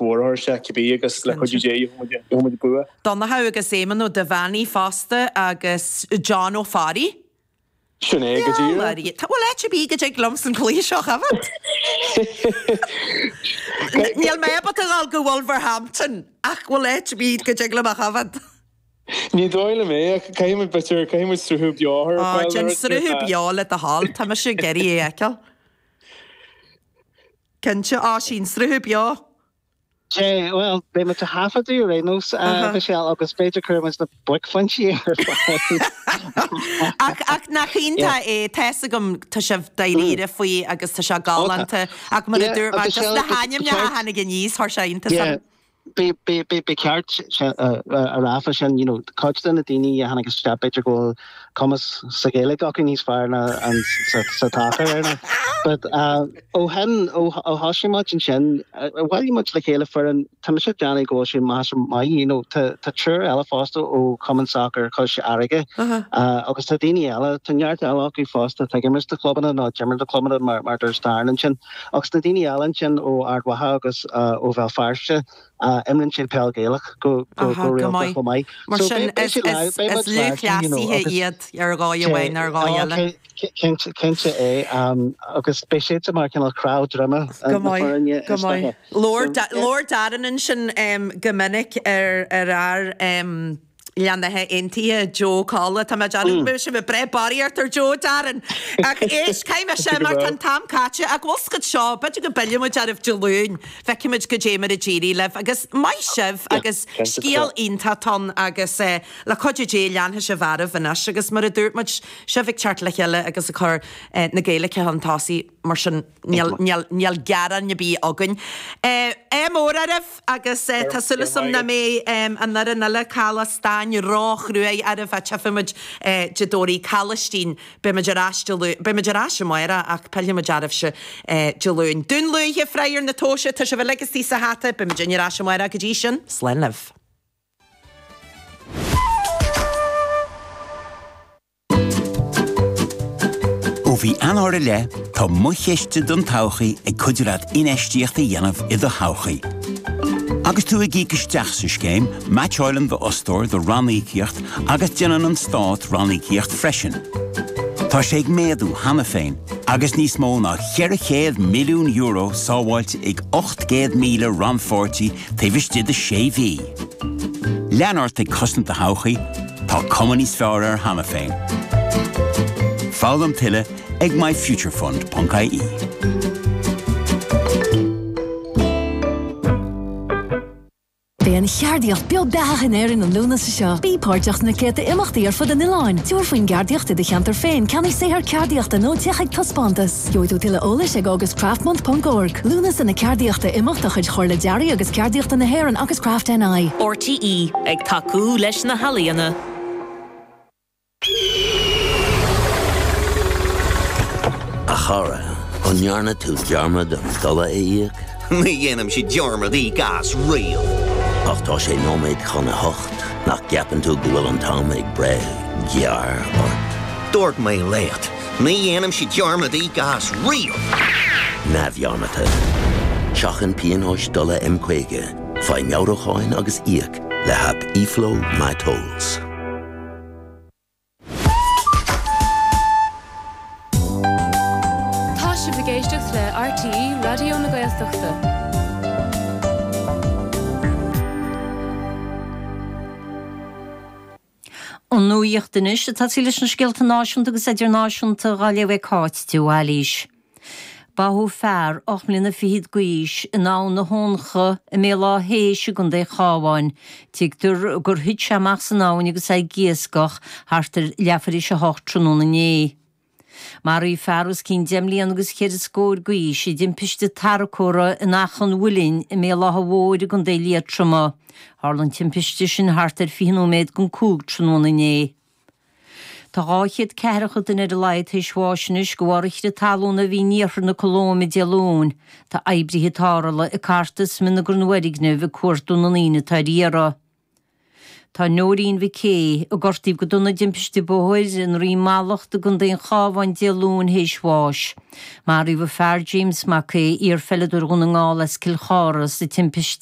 mhór a chur isteach cibé agus le cuidiú Dé gheobhaidh muid bua. Donnchadh agus Éamonn Ó Duibheannaigh fosta agus John Ó Fearraigh. Sin é go díreach. Tá bhfuil áit ar bith go dtig liomsa an cluiche seo a choimhéad? Níl mé ábalta a dhul go Wolverhampton ach bhfuil áit ar bith go dtig liom a choimhéad? Ní dóigh liom é ach caithfidh muid b'fhéidir caithfidh muid sruthú beo a chur ar fáil. Déan sruthú beo le do thoil, tá mise ag iarraidh é a fheiceáil. Cinnte, Oisín, sruthú beo. Sea, bhuel, beidh muid á thaifeadadh ar aon nós, a Mhichelle, agus b'fhéidir cuirfidh muid na buaicphointí ar fáil. Ach, ach nach iontach é, tá's agam, tá sibh dáiríre faoi agus tá sé galánta, ach mar a dúirt mé, just na hainmneacha a tháinig aníos, chuir sé iontas orm. Ba cheart a rá fá sin, you know, cuid de na daoine a tháinig isteach b'fhéidir go bhfuil cumas sa Ghaeilge acu níos fearr ná an sa tsacar ar ndóigh. But ó shin, ó thosaigh muid ansin, bhailigh muid le chéile foireann, tá mise ag déanamh go bhfuil sé measartha maith, you know, tá triúr eile fosta ó Chumann Sacair Chois Fharraige agus tá daoine eile, tá neart eile acu fosta atá ag imirt do chlubanna nó d'imir do chlubanna mar mar dúirt Darren ansin. Agus na daoine eile ansin ó Ard Mhacha agus ó Bhéal Feirste, imríonn siad peil Ghaelach go rialta chomh maith. Mar sin, is lúthchleasaithe iad ar dhóigh amháin nó ar dhóigh eile. Cinnte é. Agus beidh siadsan mar chineál cnámh droime na foirne. Go maith, go maith. Labhair Darren ansin go minic ar ár Leannaithe Aontaithe, Joe Colla. Tá mé ag déanamh go mbeidh sibh ag breith barraíocht ar Joe, Darren. Ach éist, caithfidh mé sin mar tá an t-am caite. Ach bhfuil 's agat seo, b'fhéidir go bpillfidh muid oraibh Dé Luain, feicfidh muid goidé mar a d'éirigh libh. Agus maith sibh agus scéal iontach atá ann agus le cuidiú Dé leanfaidh sibh oraibh anois agus mar a dúirt muid, sibh ag teacht le chéile agus ag cur na Gaeilge chun tosaigh mar sin níl, níl, níl gearán ar bith againn. Ádh mór oraibh! Agus tá súil agam nach mbeidh an fhoireann eile, Caladh Stáin, ró-chruaidh oraibh ach tchífidh muid Dé Domhnaigh. Calaistín, beidh muid ar ais Dé Luain, beidh muid ar ais amárach ach pillfidh muid oraibhse Dé Luain. Dún Lúiche, Fragh ar na Tomhaiste, tá sibh uilig istigh sa hata, beidh muidinne ar ais amárach go dtí sin, slán libh. Ó mhí Eanáir i leith, tá Mo Chiste don Todhchaí ag cuidiú leat infheistíocht a dhéanamh i do thodhchaí. Agus tú ag íoc isteach sa scéim, meaitseáileann d'fhostóir do ranníocaíocht agus déanann an Stát ranníocaíocht freisin. Tá sé ag méadú cheana féin agus níos mó ná €400 milliún sábháilte ag 800,000 rannpháirtí taobh istigh de sé mhí. Lean ort ag cosaint do thodhchaí, tá cuma níos fearr air cheana féin. Foghlaim tuilleadh ag myfuturefund.ie. Beidh an cheardaíocht beo beathach in Éirinn an Lúnasa seo. Bí páirteach sna céadta imeachtaí ar fud an oileáin. Tabhair faoin gceardaíocht i do cheantar féin, ceannaigh saothar ceardaíochta nó téigh chuig taispeántas. Gheobhaidh tú tuilleadh eolais ag augustcraftmonth.org. Lúnasa na Ceardaíochta, imeacht de chuid Chomhairle Dearaidh agus Ceardaíochta na hÉireann agus Craft NI. RTÉ, ag tacú leis na healaíona. A chara, an ndearna tú dearmad an dola a íoc? Ní dhéanaimse dearmad íoc as riamh. Ach tá sé nóiméad chun a hocht, nach gceapann tú go bhfuil an t-am ag breith gearr ort? Dúirt mé leat, ní dhéanaimse dearmad íoc as riamh! Neamhdhearmadta. Seachain pionóis dola M50, faigh meabhrúcháin agus íoc le haip eFlow MyTolls. Tá sibh ag éisteacht le RTÉ Raidió na Gaeltachta. An nuacht anois ag tosaí leis na scéalta náisiúnta agus idirnáisiúnta dhá léamh ag Cáit de Bhailís. Báthadh fear, 8 mbliana fichead d'aois, in Abhainn na hOncha i mBéal Átha hÉis i gContae an Chabháin. Tuigtear gur thit sé amach san abhainn agus é ag iascach thart ar leathuair théis a hocht tráthnóna inné. Maraíodh fear os cionn deich mbliana agus cheithre scór d'aois i dtimpiste tarracóra in Achadh an Mhuilinn i mBéal Átha Mhóir i gContae Liatroma. Tharla an timpiste sin thart ar 20 nóiméad don 5 tráthnóna inné. Tá 240 duine ar a laghad théis bháis anois de bharr an chrith talún a bhí in iarthar na Colóime Dé Luain. Tá oibrithe tarrthála ag cartadh smionagar na bhfoirgneamh ag cuartú na ndaoine atá ar iarraidh. Tá Noreen McKay, a gortaíodh go dona i dtimpiste bóthair i nDroim Mallacht i gContae an Chabháin Dé Luain théis bháis. Maraíodh a fear James McKay, iar-pheileadóir Dhún na nGall as Cill Chartha, sa timpiste.